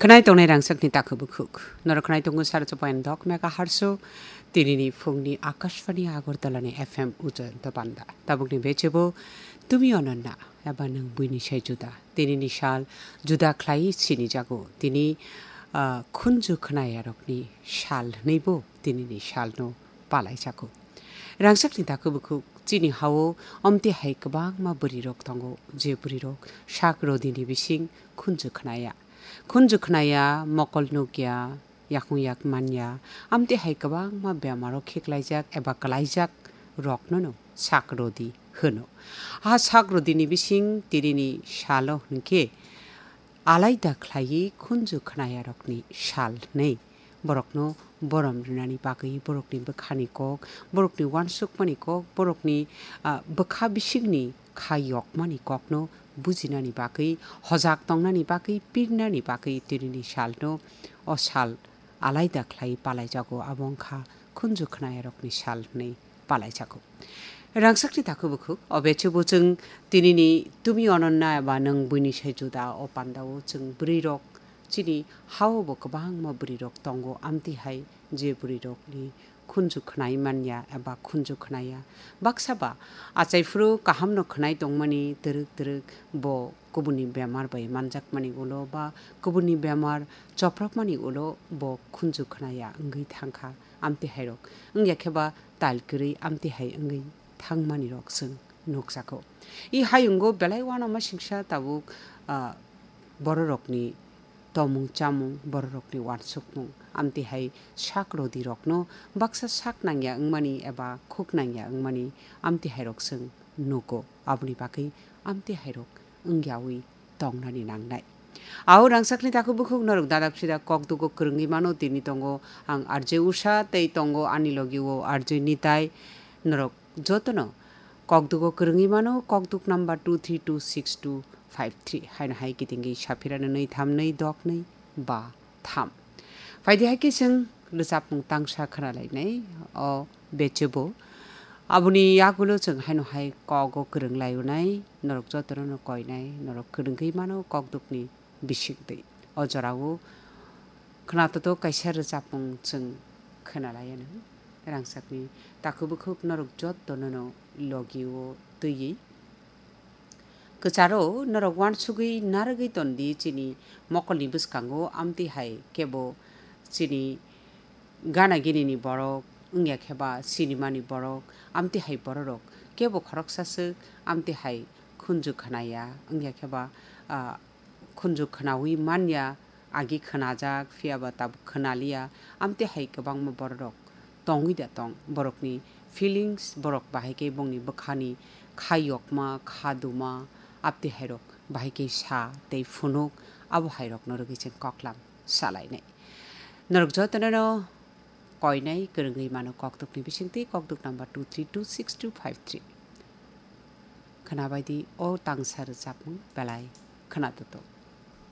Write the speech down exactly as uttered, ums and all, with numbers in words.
Khwnai tongnai rangchakni takhuk bukhuk. Norok khwnai tongo sara chopayani dok mega harso. Tinini phungni Akashvani Agartala ni F M ujan to panda. Tabukni bechebo tumi ononna eba nang buini sai juda. Tinini sal juda khlai sini jago. Tini, ah, khunju khwnayarokni sal hwnwi bo tinini salno palai jago. Rangchakni takhuk bukhuk chini hao omte hai kwbangma bwrwirok tongo, je bwrwirok sak rodini bising khunju khnaya. Khunju khnaya, mokol nukya, yakung yak manya, amte hai kwbangma bemaro khiklaijak eba kwlaijak roknono sak rodi hwno. A sak rodini bising tirini salo hwnkhe alaida khlaiwi khunju khnayarokni sal hwnwi borokno borom rwnani bagwi, borokni bwkhani kok, borokni uansukmani kok, borokni, ah, bwkha bisingni kha yokmani kokno bujinani bagwi, hojak tongnani bagwi, pirnani bagwi tirini salno o sal alaida khlai palaijago, abo wngkha khunju khnayarokni sal hwnwi palaijago. Rangchakni takhuk bukhuk, o bechebo chwng tinini tumi ononna eba nwng buini sai juda o pandao chwng bwrwirok chini hao bo kwbangma bwrwirok tongo, amtwi hai je bwrwirokni khunju khnai manya eba khunju khnaya. Baksa ba achai phuru kahamno khnai tongmani twrwk twrwk bo kubuni bemar bai manjakmani ulo ba kubuni bemar chopropmani ulo bo khunju khnaya wngwi thangkha. Amtwi hairok wngya khe ba tal kwrwi amtwi hai wngwi thangmani rok chwng nukjago. I hayungo belai uanama singsa tabuk, ah, bororokni tomung chamung, bororokni uansukmung, amtwi hai sak rodirokno baksa sak nangya wngmani eba khuk nangya wngmani amtwi hairok chwng nugo. Aboni bagwi amtwi hairok wngyawi tongnani nangnai. Ao rangchakni takhuk bukhuk norok dadak sidak kokdugo kwrwngwi mano, tini tongo ang R J Usha tei tongo ani logi o R J Nitai. Norok jotono kokdugo kwrwngwi mano, kokduk number two three two six two five three. Haino hai kitingwi saphirano nwi tham nwi dok nwi ba tham. Phaidi hai khe chwng rwchapmung tangsa khwnalainai o bechebo. Aboni yagulo chwng haino hai kogo kwrwng laionai, norok jotono no koinai, norok kwrwngwi mano kokdukni bisingtwi. O jorao khwnatotok kaisa rwchapmung chwng khwnalaianw. Rangchakni takhuk bukhuk norok jotono no logi o twiwi kwcharo norok uansugwi narwgwi tondi chini mokolni bwskango, amtwi hai kebo chini gana ginini borok, wngya khe ba sinimani borok, amtwi hai bororok kebo khoroksa swk, amtwi hai khunju khnaya, wngya khe ba, ah, khunju khnaui manya, agi khnajak, phiya ba tabuk khnaliya, amtwi hai kwbangma bororok tongwi da tong, borokni feelings, borok bahai khe bongni bwkhani kha yokma, kha duma, amtwi hairok bahai khe sa tei phunuk, abo hairokno rwgwi chwng koklam salainai. Norok jotono no koinai kwrwngwi mano kokdukni bisingtwi, kokduk number two three two six two five three. Khwnabaidi o tangsa rwchapmung belai khwnatotok.